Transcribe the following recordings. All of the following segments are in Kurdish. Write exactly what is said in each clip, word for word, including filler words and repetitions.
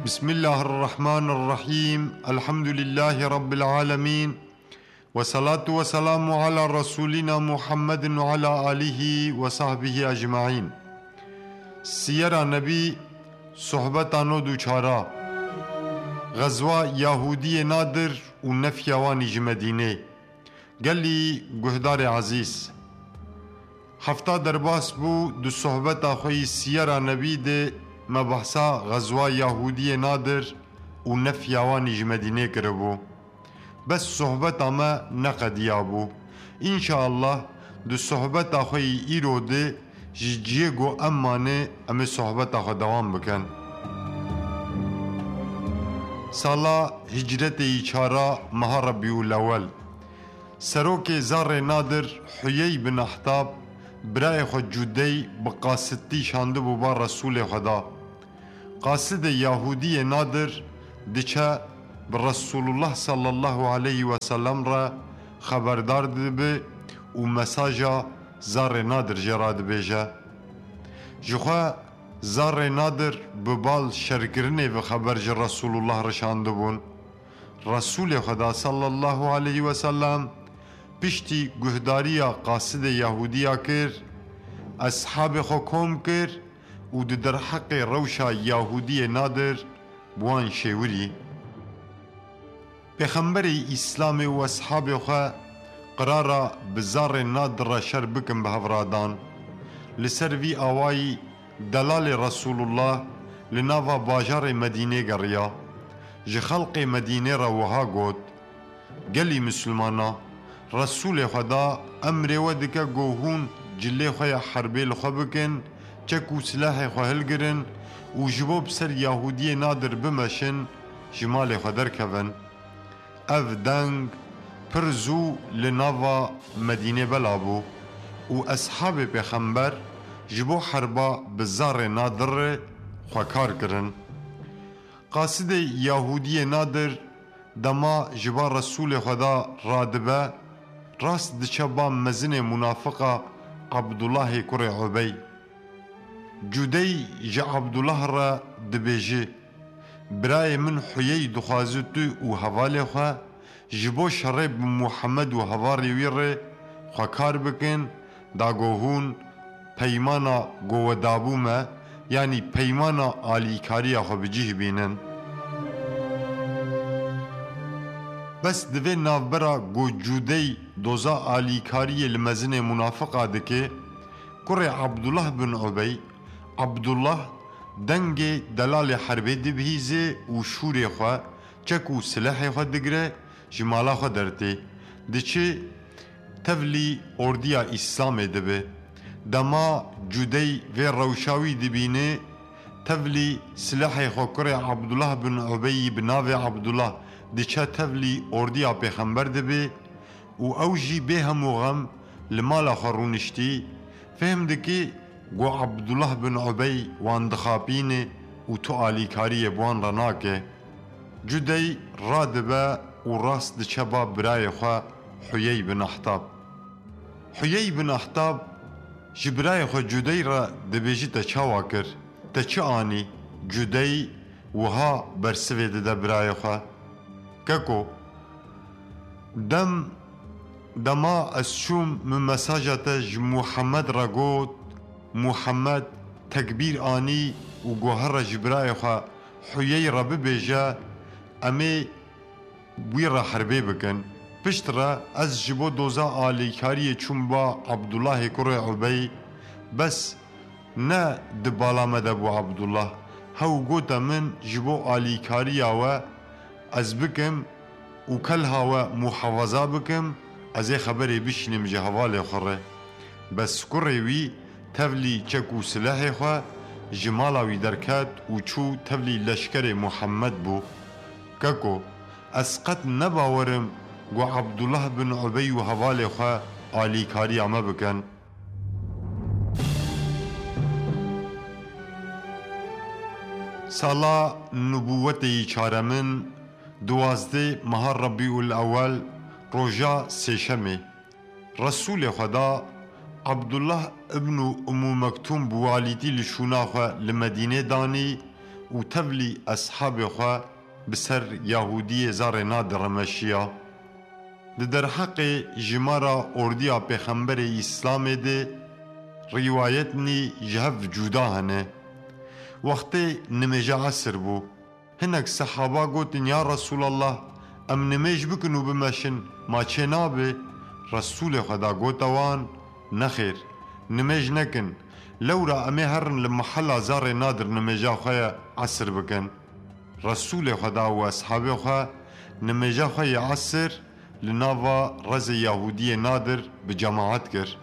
Bismillahirrahmanirrahim. Elhamdülillahi Rabbil alemin. Ve salatu ve selamu ala Resulina Muhammedin ve ala alihi ve sahbihi ecmaîn. Siyera Nebî, sohbeta nod û çara. Xezwa Yahudiyê Nadir û nefya wanî ji Medînê. Gelî guhdarê ezîz, hefta derbas bû, di sohbeta xwe yî Siyera Nebî de me behsa xezwa Yahudiyê Nadir û nefya wanî ji Medînê kiribû. Bes sohbeta me neqediyabû. Înşaallah di sohbeta xwe yî îro de ji ciyê ku em mane, em ê sohbeta xwe dewam bikin. Sala hicretê yî çara meha Rebîul Ewel. Serokê Zarê Nadir Huyey bin Ahtab birayê xwe Cudey bi qasitî şandibû ba Resûlê Xweda. Qasidê Yahudiyê Nadir diçe bi Resulullah sallallahu aleyhi ve sellem re xeberdar dibe û mesaja Zarê Nadir jê re dibêje. Ji xwe Zarê Nadir bi bal şerkirinê ve xeber ji Resulullah re şandibûn. Resulê Xweda sallallahu aleyhi ve sellem piştî guhdariya qasidê Yahudiya kir, eshabê xwe kom kir û di derheqê rewşa Yahudiyê Nadir bi wan şêwirî. Pêxemberê Îslamê û eshabê xwe qirara bi Zarê Nadir re şer bikin bi hev re dan. Li ser vî awayî delalê Resulullah li nava bajarê Medînê geriya. Ji xelqê Medînê re wiha got, Gelî Misilmana, Resûlê Xweda emrê we dike ku hûn cilê xwe ya herbê li xwe bikin, çek û silahê xwe hilgirin û ji bo bi ser Yahudiyê Nadir bimeşin, ji malê xwe derkevin. Ev deng pir zû li nava Medînê bela bû û eshabê Pêxember ji bo herba bi Zarê Nadir re xwe kar kirin. Qasidê Yahudiyê Nadir dema ji ba Resûlê Xweda radibe, rast diçe ba mezinê munafiqa Abdullahê kurê Ubey. Cudey ji Abdullah re dibêje, Birayê min Huyey dixwaze tu û hevalê xwe ji bo şerê bi Muhammed û hevalê wî re xwe kar bikin, da ku hûn peymana ku we dabû me, yanî peymana alîkariya xwe bi cih bînin. Bes di vê navbera ku Cudey doza alîkariyê li mezinê munafiqa dike, kurê Abdullah bin Ubey, Abdullah dengê delalê herbê dibihîze û şûrê xwe, çek û silehê xwe digire, ji mala xwe dertê. Diçe tevlî ordiya Îslamê dibe. Dema Cudey vê rewşa wî dibîne, tevlî silehê xwe kurê Abdullah bin Ubeyî bi navê Abdullah diçe tevlî ordiya Pêxember dibe û ew jî bê hemû xem li mala xwe rûniştî, fêhm dike ku Abdullah bin Ubey wan dixapîne û tu alîkariyê bi wan re nake. Cudey radibe û rast diçe ba birayê xwe Huyey bin Ahtab. Huyey bin Ahtab ji birayê xwe Cudey re dibêje, Te çawa kir? Te çi anî? Cudey wiha bersivê dide birayê xwe, Keko, dem dema ez çûm, min mesaja te ji Muhammed re got, Muhammed tekbîr anî û got, Here ji birayê xwe Huyey re bibêje, em ê wî re herbê bikin. Pişt re ez ji bo doza alîkariyê çûm ba Abdullahê kurê Ubey, bes ne di bala me de bû Abdullah. Hew gote min ji bo alîkariya we ez bikim û kelha we muhafaza bikim, ez ê xeberê bişînim ji hevalê xwe re. Bes kurê wî tevlî çek û silehê xwe ji mala wî derket û çû tevlî leşkerê Muhammed bû. Keko, ez qet ne bawer im ku Abdullah bin Ubey û hevalê xwe alîkariya me bikin. Sala nubûwetê yî çaremin, duwazdeh meha Rebîul Ewel, roja sêşemê. Resûlê Xweda Abdullah ibn Ummû Mektûm bi walîtî li şûna xwe li Medînê danî û tevlî eshabê xwe bi ser Yahûdiyê Zarê Nadir re meşiya. Di derheqê jimara ordiya Pêxemberê Îslamê de rîwayetnî ji hev cuda hene. Wextê nimêja esir bû. Hinek sehaba gotin, Ya Resûlallah, em nimêj bikin û bimeşin, ma çê nabe? Resûlê Xweda gote wan, Nexêr, nimêj nekin. Lewra em ê herin li mehela Zarê Nadir nimêja xwe ye esir bikin. Resûlê Xweda û eshabê xwe nimêja xwe yê esir li nava rezê Yahûdiyê Nadir bi cemaet kir.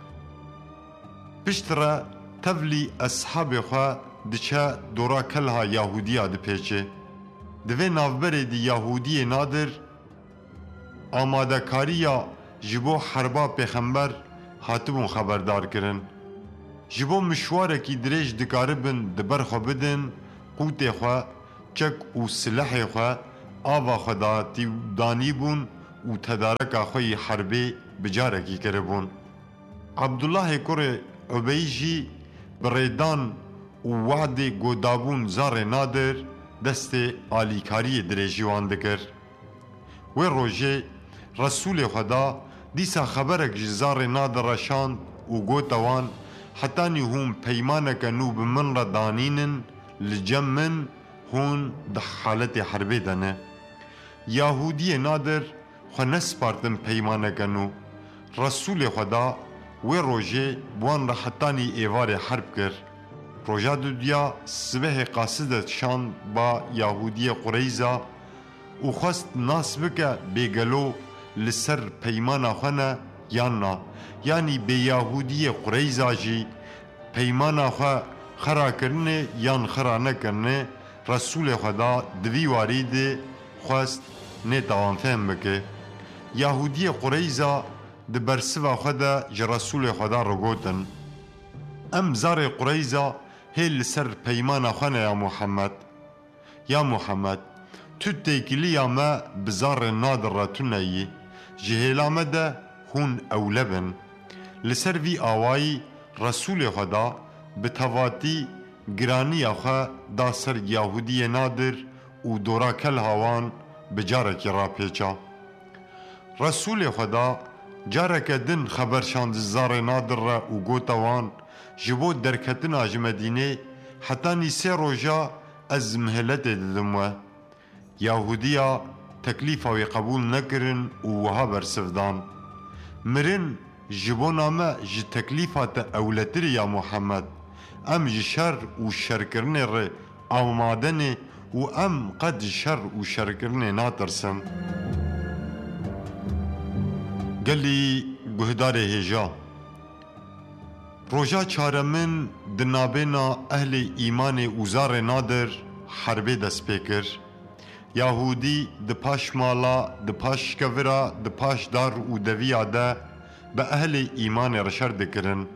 Piştre tevlî eshabê xwe diçe dora kelha Yahûdiya dipêçe. Di vê navberê de Yahûdiyê Nadir amadekariya ji bo herba Pêxember hatibûn xeberdar kirin. Ji bo mişwarekî dirêj dikaribin di ber xwe bidin qûtê xwe, çek û silehê xwe ava xwe datî danîbûn û tedareka xwe yî herbê bi carekî kiribûn. Abdullahê kurê Ubey jî bi rêdan û wadê ku dabûn Zarê Nadir destê alîkariyê dirêjî wan dikir. Wê rojê Resûlê Xweda dîsa xeberek ji Zarê Nadir re şand û gote wan, Hetanî hûn peymaneke nû bi min re danînin, li cem min hûn di haletê herbê de ne. Yahûdiyê Nadir xwe nespartin peymaneke nû. Resûlê Xweda wê rojê bi wan re hetanî êvarê herb kir. Roja dudiya sibehê qaside şand ba Yahûdiyê Qureyza û xwest nas bike bê gelo li ser peymana xwe ne yan na. Yanî bê Yahûdiyê Qureyza jî peymana xwe xera kirine yan xera nekirine, Resûlê Xweda di vî warî de xwest nê te wan fehm bike. Yahûdiyê Qureyza di bersiva xwe de ji Resûlê Xweda re gotin, Em zarê Qureyza hê li ser peymana xwe ne ya Muhammed. Ya Muhammed, tu têkiliya me bi Zarê Nadir re tune yî. Ji hêla me de hûn ewle bin. Li ser vî awayî Resûlê Xweda bi tevatî giraniya xwe da ser Yahûdiyê Nadir û dora kelha wan bi carekî rapêça. Resûlê Xweda careke din xeber şand ji Zarê Nadir re û gote wan, Ji bo derketina ji Medînê hetanî sê roja ez miheletê didim we. Yahûdiya teklîfa wî qebûl nekirin û wiha bersiv dan, Mirin ji bona me ji teklîfa te ewletir e ya Muhammed. Em ji şer û şerkirinê re amade ne û em qet ji şer û şerkirinê natirsin. Gelî guhdarê hêja. Roja çaremin di nabêna ehlê îmanê û Zarê Nadir herbê dest pê kir. Yahûdî di paş mala, di paş kevira, di paş dar û deviya de bi ehlê îmanê re şer dikirin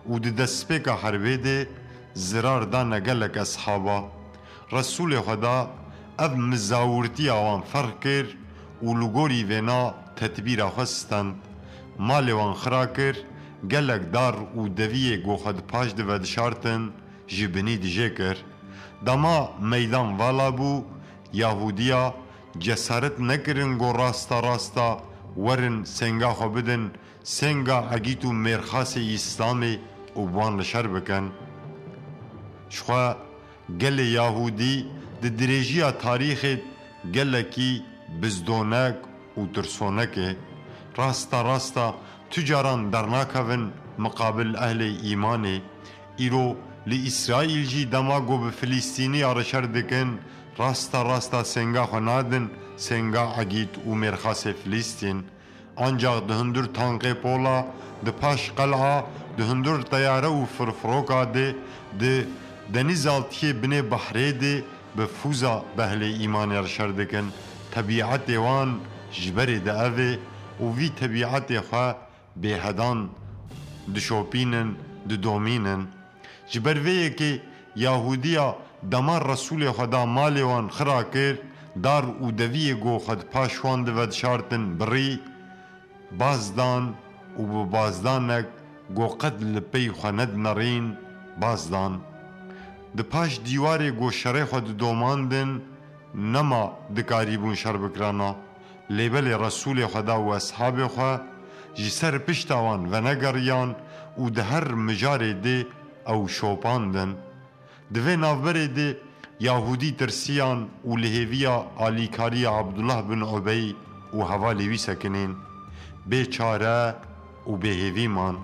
û di destpêka herbê de zirar dane gelek eshaba. Resûlê Xweda ev mizawirtiya wan ferq kir û li gorî vêna tedbîra xwe stend. Malê wan xira kir, gelek dar û deviyê ku xwe di paş de vedişartin, ji binî dijê kir. Dema meydan vala bû, Yahûdiya cesaret nekirin ku rasta rasta werin senga xwe bidin senga Egît û mêrxasê Îslamê û bi wan li şer bikin. Jixwe gelê Yahûdî di dirêjiya tarîxê gelekî bizdonek û tirsonek e. Rasta rasta tu caran dernakevin miqabil ehlê îmanê. Îro li Îsraîl jî dema ku bi Filîstîniya re şer dikin, rasta rasta senga xwe nadin senga Egît û mêrxasê Filîstîn. Ancax di hundir tankê pola, di paş qel'a, di hundir teyare û firfiroka de, di denîzaltiyê binê behrê de bi fûza bi ehlê îmanê re şer dikin. Tebîetê wan ji berê de ev e û vî tebîetê xwe bêhedan dişopînin, didomînin. Ji ber vê yekê Yahûdiya dema Resûlê Xweda malê wan xira kir, dar û deviyê ku xwe di paş wan de vedişartin birî, baz dan û bi bazdanek ku qet li pey xwe nedinerîn, baz dan. Di paş dîwarê ku şerê xwe didomandin, nema dikarîbûn şer bikirana. Lê belê Resûlê Xweda û eshabê xwe ji ser pişta wan venegeriyan û di her mijarê dê ew şopandin. Di vê navberê de Yahûdî tirsiyan û li hêviya alîkariya Abdullah bin Ubey û hevalê wî sekinên bê çare û bê hêvî man.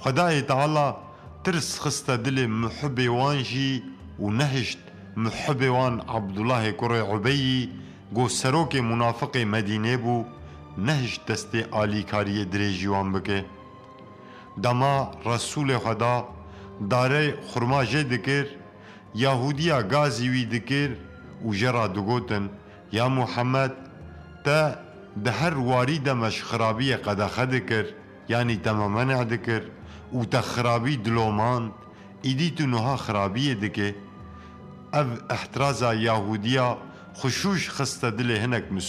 Xwedayê Teala tirs xiste dilê muhibê wan jî û nehişt muhibê wan Abdullahê kurê Ubeyî, ku serokê munafiqê Medînê bû, nehişt destê alîkariyê dirêjî wan bike. Dema Resûlê Xweda darê xurma jê dikir, Yahûdiya gazî wî dikir û jê re digotin, Ya Muhammed, te di her warî de me ji xirabiyê qedexe dikir, yanî te me menê dikir û te xirabî dilomand, îdî tu nuha xirabiyê dike. Ev îhtiraza Yahûdiya xuşûş xiste dilê hinek Misliman.